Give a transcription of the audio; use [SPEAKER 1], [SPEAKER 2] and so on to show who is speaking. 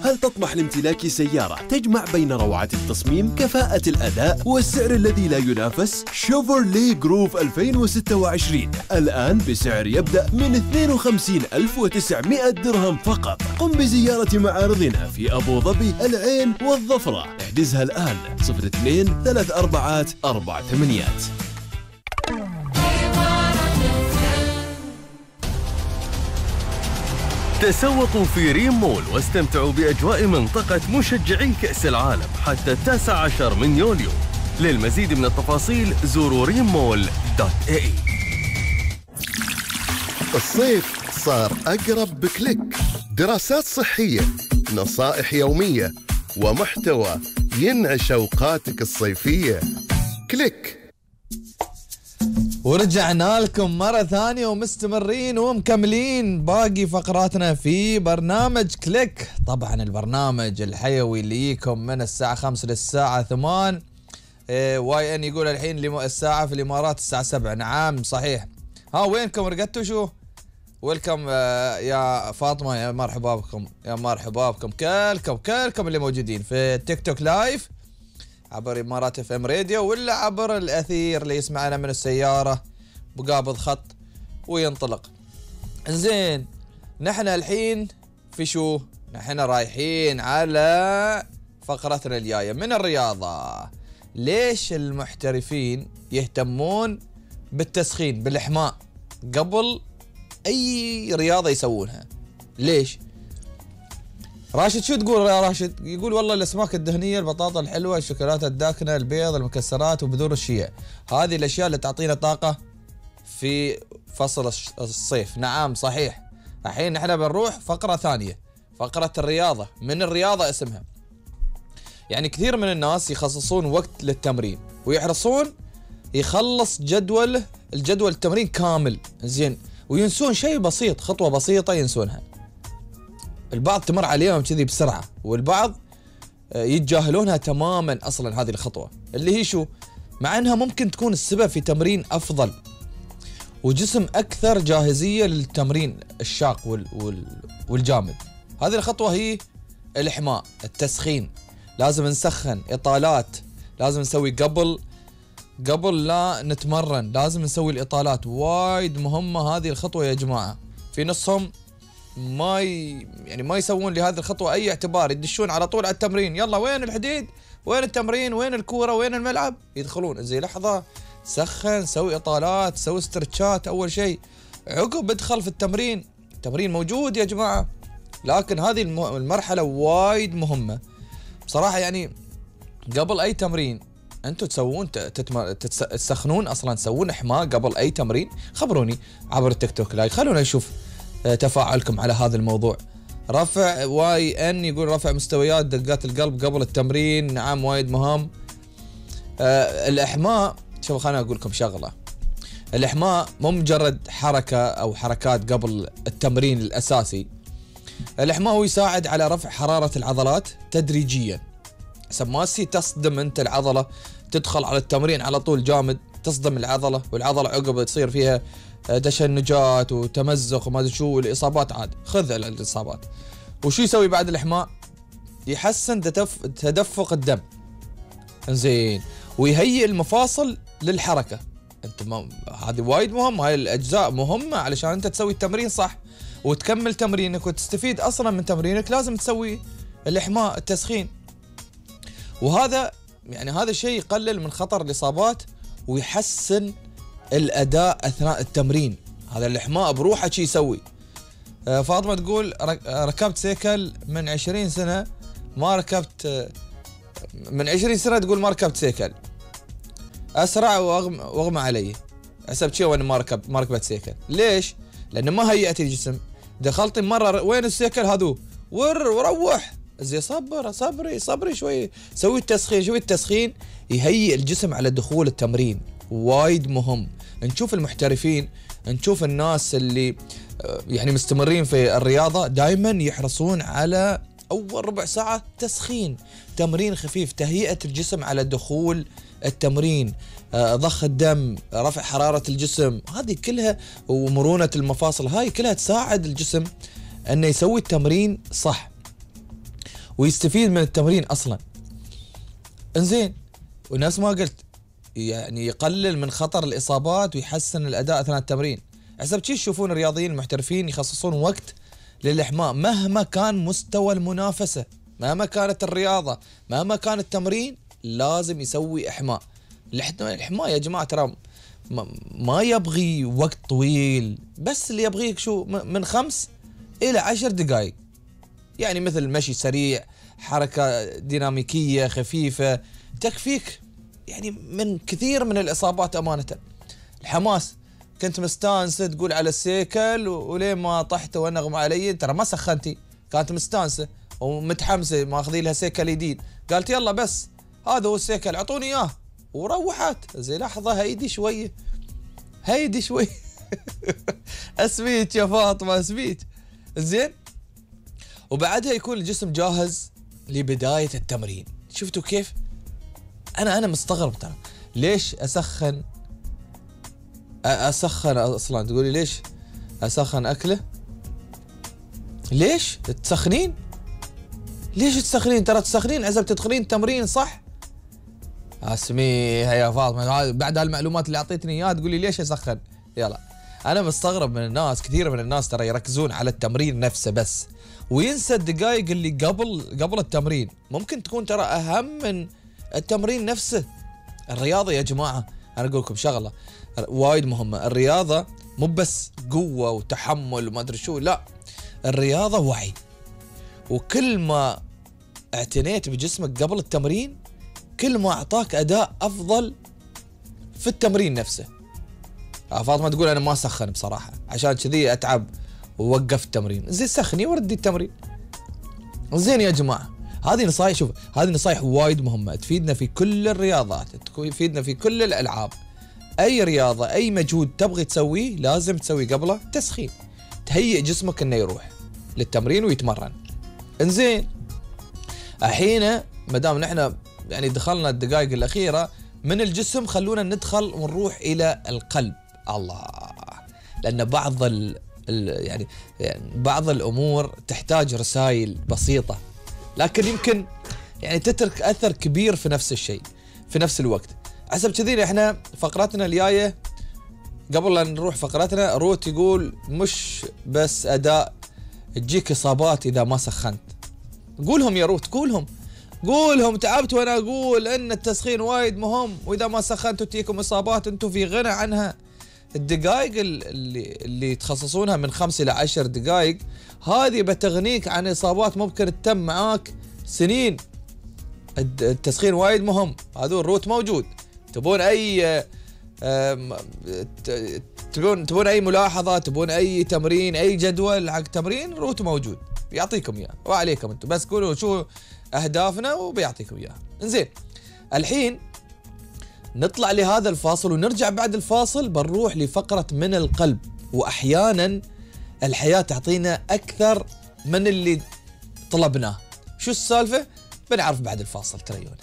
[SPEAKER 1] هل تطمح لامتلاك سيارة تجمع بين روعة التصميم، كفاءة الأداء والسعر الذي لا ينافس؟ شيفروليه جروف 2026 الآن بسعر يبدأ من 52,900 درهم فقط. قم بزيارة معارضنا في أبو ظبي، العين والظفرة. احجزها الآن 02 34 48.
[SPEAKER 2] تسوقوا في ريم مول واستمتعوا بأجواء منطقة مشجعي كأس العالم حتى 19 من يوليو. للمزيد من التفاصيل زوروا rimmall.ae.
[SPEAKER 3] الصيف صار أقرب بكليك. دراسات صحية، نصائح يومية، ومحتوى ينعش أوقاتك الصيفية. كليك.
[SPEAKER 4] ورجعنا لكم مرة ثانية ومستمرين ومكملين باقي فقراتنا في برنامج كليك. طبعا البرنامج الحيوي اللي يجيكم من الساعة 5 للساعة 8. واي ان يقول الحين الساعة في الإمارات الساعة 7. نعم صحيح. ها وينكم رقدتوا شو؟ ويلكم يا فاطمة، يا مرحبا بكم، يا مرحبا بكم كلكم اللي موجودين في تيك توك لايف عبر إمارات اف ام راديو، ولا عبر الأثير اللي يسمعنا من السيارة بقابض خط وينطلق. زين، نحن الحين في شو؟ نحن رايحين على فقرتنا الجاية من الرياضة. ليش المحترفين يهتمون بالتسخين بالإحماء قبل أي رياضة يسوونها؟ ليش؟ راشد شو تقول يا راشد؟ يقول والله الأسماك الدهنية، البطاطا الحلوة، الشوكولاتة الداكنة، البيض، المكسرات وبذور الشيا، هذه الأشياء اللي تعطينا طاقة في فصل الصيف. نعم صحيح. الحين نحن بنروح فقرة ثانية، فقرة الرياضة. من الرياضة اسمها. يعني كثير من الناس يخصصون وقت للتمرين ويحرصون يخلص الجدول التمرين كامل، زين، وينسون شيء بسيط، خطوة بسيطة ينسونها. البعض تمر عليهم كذي بسرعة، والبعض يتجاهلونها تماما أصلا هذه الخطوة اللي هي شو؟ مع أنها ممكن تكون السبب في تمرين أفضل وجسم أكثر جاهزية للتمرين الشاق والجامد. هذه الخطوة هي الإحماء، التسخين. لازم نسخن إطالات، لازم نسوي قبل لا نتمرن، لازم نسوي الإطالات. وايد مهمة هذه الخطوة يا جماعة. في نصهم ما يسوون لهذه الخطوة أي اعتبار، يدشون على طول على التمرين. يلا وين الحديد؟ وين التمرين؟ وين الكورة؟ وين الملعب؟ يدخلون زي لحظة، سخن، سوي إطالات، سوي استرتشات أول شيء، عقب ادخل في التمرين. التمرين موجود يا جماعة، لكن هذه المرحلة وايد مهمة بصراحة. يعني قبل أي تمرين أنتوا تسوون تسخنون أصلا، تسوون إحماء قبل أي تمرين؟ خبروني عبر التيك توك لايف، خلونا نشوف تفاعلكم على هذا الموضوع. رفع واي ان يقول رفع مستويات دقات القلب قبل التمرين. نعم وايد مهم. الإحماء، شوفوا خليني أقول لكم شغلة. الإحماء مو مجرد حركة أو حركات قبل التمرين الأساسي. الإحماء هو يساعد على رفع حرارة العضلات تدريجيا، حسب ما تصدم أنت العضلة، تدخل على التمرين على طول جامد، تصدم العضلة، والعضلة عقب تصير فيها تشنجات وتمزق وما ادري شو، والاصابات عاد خذ الاصابات. وشو يسوي بعد الإحماء؟ يحسن تدفق الدم، زين، ويهيئ المفاصل للحركة. انت هذه وايد مهمة، هاي الاجزاء مهمة علشان انت تسوي التمرين صح وتكمل تمرينك وتستفيد اصلا من تمرينك. لازم تسوي الإحماء، التسخين، وهذا يعني هذا الشيء يقلل من خطر الإصابات ويحسن الأداء أثناء التمرين. هذا الإحماء بروحه شي يسوي. فاطمة تقول ركبت سيكل من 20 سنة ما ركبت، من 20 سنة تقول ما ركبت سيكل، أسرع وأغمى علي. حسبت شي وأنا ما ركبت سيكل. ليش؟ لأنه ما هيئت الجسم. دخلت مرة وين السيكل هذو وروح زي صبري شوي، سوي التسخين. شوي التسخين يهيئ الجسم على دخول التمرين، وايد مهم. نشوف المحترفين، نشوف الناس اللي يعني مستمرين في الرياضة دائما يحرصون على أول ربع ساعة تسخين، تمرين خفيف، تهيئة الجسم على دخول التمرين، ضخ الدم، رفع حرارة الجسم، هذه كلها، ومرونة المفاصل، هاي كلها تساعد الجسم أنه يسوي التمرين صح. ويستفيد من التمرين اصلا. انزين، ونفس ما قلت يعني يقلل من خطر الاصابات ويحسن الاداء اثناء التمرين. حسب شي تشوفون الرياضيين المحترفين يخصصون وقت للاحماء مهما كان مستوى المنافسه، مهما كانت الرياضه، مهما كان التمرين، لازم يسوي احماء. الاحماء يا جماعه ترى ما يبغي وقت طويل، بس اللي يبغيك شو من 5 إلى 10 دقائق، يعني مثل مشي سريع، حركة ديناميكية خفيفة تكفيك يعني من كثير من الإصابات أمانة. الحماس، كنت مستانسة تقول على السيكل وليه ما طحت وانغم علي، ترى ما سخنتي، كانت مستانسة ومتحمسة ماخذي لها سيكل جديد، قالت يلا بس هذا هو السيكل اعطوني اياه، وروحت. زي لحظة هيدي شوية هيدي شوية اسبيت يا فاطمة اسبيت. زين، وبعدها يكون الجسم جاهز لبداية التمرين. شفتوا كيف؟ انا مستغرب ترى، ليش اسخن اصلا؟ تقولي ليش اسخن اكله؟ ليش تسخنين؟ ليش تسخنين؟ ترى تسخنين عزب تدخلين تمرين صح؟ اسميها يا فاطمه، بعد هالمعلومات اللي اعطيتني اياها تقولي ليش اسخن؟ يلا، انا مستغرب من الناس، كثير من الناس ترى يركزون على التمرين نفسه بس، وينسى الدقائق اللي قبل التمرين، ممكن تكون ترى اهم من التمرين نفسه. الرياضه يا جماعه انا اقول لكم شغله وايد مهمه، الرياضه مو بس قوه وتحمل وما ادري شو، لا، الرياضه وعي، وكل ما اعتنيت بجسمك قبل التمرين كل ما اعطاك اداء افضل في التمرين نفسه. فاطمه تقول انا ما اسخن بصراحه عشان كذي اتعب ووقف التمرين. زين سخني وردي التمرين. زين يا جماعه، هذه نصايح، شوف هذه نصايح وايد مهمه تفيدنا في كل الرياضات، تفيدنا في كل الالعاب. اي رياضه اي مجهود تبغي تسويه لازم تسوي قبله تسخين، تهيئ جسمك انه يروح للتمرين ويتمرن. انزين، الحين ما دام نحن يعني دخلنا الدقائق الاخيره من الجسم، خلونا ندخل ونروح الى القلب. الله، لان يعني بعض الامور تحتاج رسائل بسيطه لكن يمكن يعني تترك اثر كبير في نفس الشيء في نفس الوقت. حسب كذي احنا فقرتنا الجايه، قبل لا نروح فقرتنا، روت يقول مش بس اداء، تجيك اصابات اذا ما سخنت. قولهم يا روت، قولهم تعبت وانا اقول ان التسخين وايد مهم، واذا ما سخنتوا تجيكم اصابات، انتم في غنى عنها. الدقائق اللي تخصصونها من 5 إلى 10 دقائق هذه بتغنيك عن اصابات ممكن تتم معاك سنين. التسخين وايد مهم، هذا الروت موجود. تبون اي ملاحظه، تبون اي تمرين، اي جدول حق تمرين، روت موجود بيعطيكم اياه، وعليكم انتم بس قولوا شو اهدافنا وبيعطيكم اياه. انزين، الحين نطلع لهذا الفاصل ونرجع بعد الفاصل بنروح لفقرة من القلب، واحيانا الحياة تعطينا اكثر من اللي طلبناه. شو السالفة؟ بنعرف بعد الفاصل، تريونه.